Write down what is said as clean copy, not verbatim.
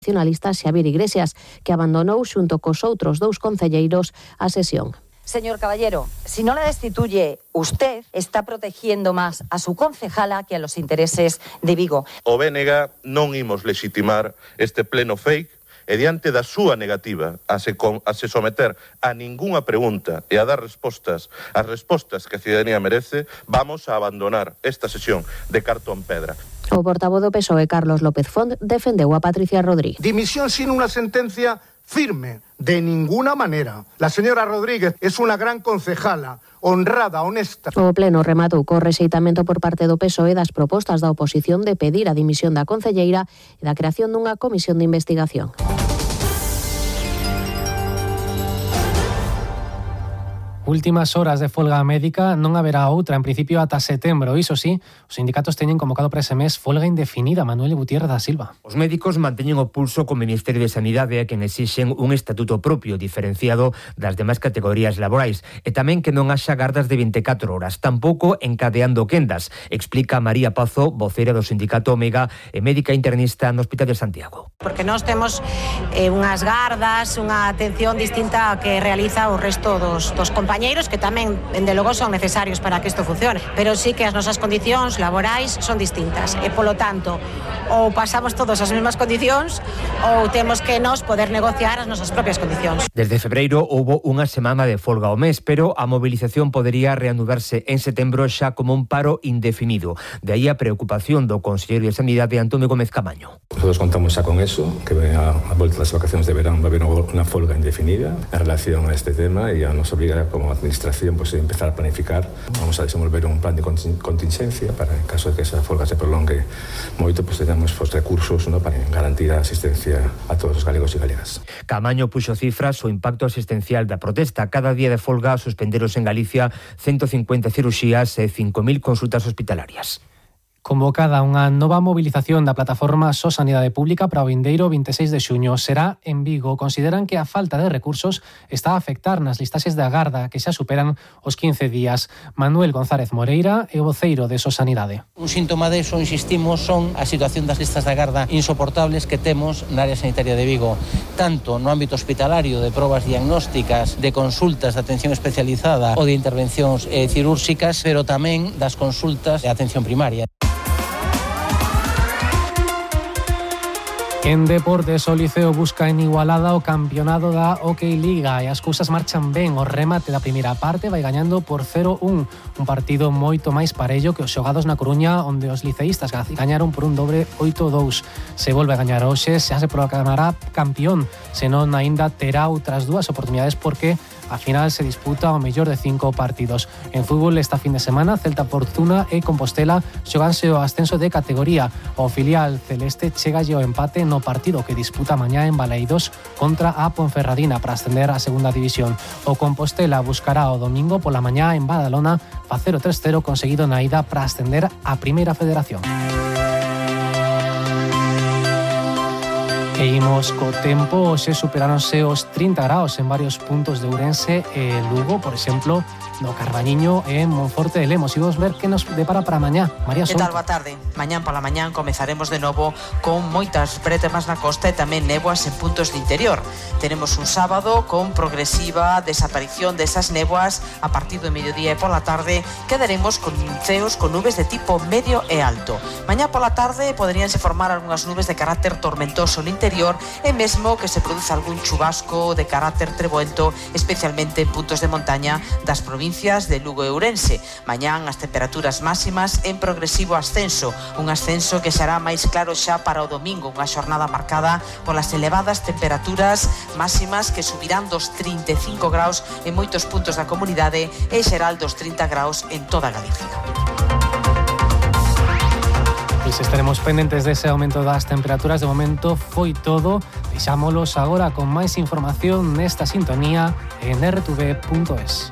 nacionalista Xavier Iglesias, que abandonou xunto cos outros 2 concelleiros a sesión. Señor Caballero, si no la destituye usted, está protegiendo más a su concejala que a los intereses de Vigo. O BNG non imos legitimar este pleno fake e diante da súa negativa a se someter a ningunha pregunta e a dar as respostas que a cidadanía merece, vamos a abandonar esta sesión de cartón pedra. O portavoz do PSOE, Carlos López Font, defendeu a Patricia Rodríguez. Dimisión sin una sentencia firme, de ninguna manera. La señora Rodríguez es una gran concejala, honrada, honesta. O pleno rematou co rexeitamento por parte do PSOE das propostas da oposición de pedir a dimisión da concelleira e da creación dunha comisión de investigación. Últimas horas de folga médica, non haberá outra en principio ata setembro. Iso sí, os sindicatos teñen convocado para ese mes folga indefinida. Manuel Gutiérrez da Silva. Os médicos manteñen o pulso co Ministerio de Sanidade a quen exixen un estatuto propio diferenciado das demais categorías laborais e tamén que non haxa gardas de 24 horas, tampouco encadeando quendas, explica María Pazo, voceira do sindicato Omega e médica internista no Hospital de Santiago. Porque nós temos unhas gardas, unha atención distinta a que realiza o resto dos compañeros que tamén, dende logo, son necesarios para que isto funcione. Pero sí que as nosas condicións laborais son distintas e, polo tanto, ou pasamos todos as mesmas condicións ou temos que nos poder negociar as nosas propias condicións. Desde febreiro houbo unha semana de folga ao mes, pero a mobilización podería reanudarse en setembro xa como un paro indefinido. De aí a preocupación do conselleiro de Sanidade, Antonio Gómez Camaño. Nosotros contamos xa con eso, que a volta das vacacións de verán va a haber unha folga indefinida en relación a este tema e a nos obliga como administración pues, a empezar a planificar. Vamos a desenvolver un plan de contingencia para, en caso de que esa folga se prolongue moito, pues teñamos recursos, ¿no?, para garantir a asistencia a todos os galegos e galegas. Camaño puxo cifras o impacto asistencial da protesta. Cada día de folga suspenderos en Galicia 150 cirurxías e 5.000 consultas hospitalarias. Convocada unha nova mobilización da plataforma So Sanidade Pública para o vindeiro 26 de xuño. Será en Vigo. Consideran que a falta de recursos está a afectar nas listaxes de agarda, que xa superan os 15 días. Manuel González Moreira é o voceiro de So Sanidade. Un síntoma deso, insistimos, son a situación das listas de agarda insoportables que temos na área sanitaria de Vigo, tanto no ámbito hospitalario de probas diagnósticas, de consultas de atención especializada ou de intervencións cirúrxicas, pero tamén das consultas de atención primaria. En deportes, o Liceo busca en Igualada o campeonado da Hockey Liga e as cousas marchan ben. O remate da primeira parte vai gañando por 0-1, un partido moito máis parello que os xogados na Coruña, onde os liceístas gañaron por un dobre 8-2. Se volve a gañar hoxe, xa se proclamará campeón, senón aínda terá outras dúas oportunidades porque a final se disputa o mellor de 5 partidos. En fútbol, esta fin de semana, Celta Fortuna e Compostela xoganse o ascenso de categoría. O filial celeste chegalle o empate no partido que disputa mañá en Baleidos contra a Ponferradina para ascender á segunda división. O Compostela buscará o domingo pola mañá en Badalona facer o 3-0 conseguido na ida para ascender á Primeira Federación. E imos co tempo. Hoxe superáronse os 30 graus en varios puntos de Ourense e Lugo, por exemplo, no Carballiño e en Monforte de Lemos. E vamos ver que nos depara para mañá. María Souto. Que tal, boa tarde? Mañán pola mañán comezaremos de novo con moitas bretemas na costa e tamén néboas en puntos de interior. Tenemos un sábado con progresiva desaparición desas néboas a partir do mediodía e pola tarde quedaremos con ceos con nubes de tipo medio e alto. Mañá pola tarde poderíanse formar algunhas nubes de carácter tormentoso no interior e mesmo que se produza algún chubasco de carácter treboento, especialmente en puntos de montaña das provincias de Lugo e Ourense. Mañán as temperaturas máximas en progresivo ascenso, un ascenso que será máis claro xa para o domingo, unha xornada marcada polas elevadas temperaturas máximas que subirán dos 35 graus en moitos puntos da comunidade e xeral dos 30 graus en toda Galicia. Pois estaremos pendentes dese aumento das temperaturas. De momento foi todo. Deixámolos agora con máis información nesta sintonía en rtv.es.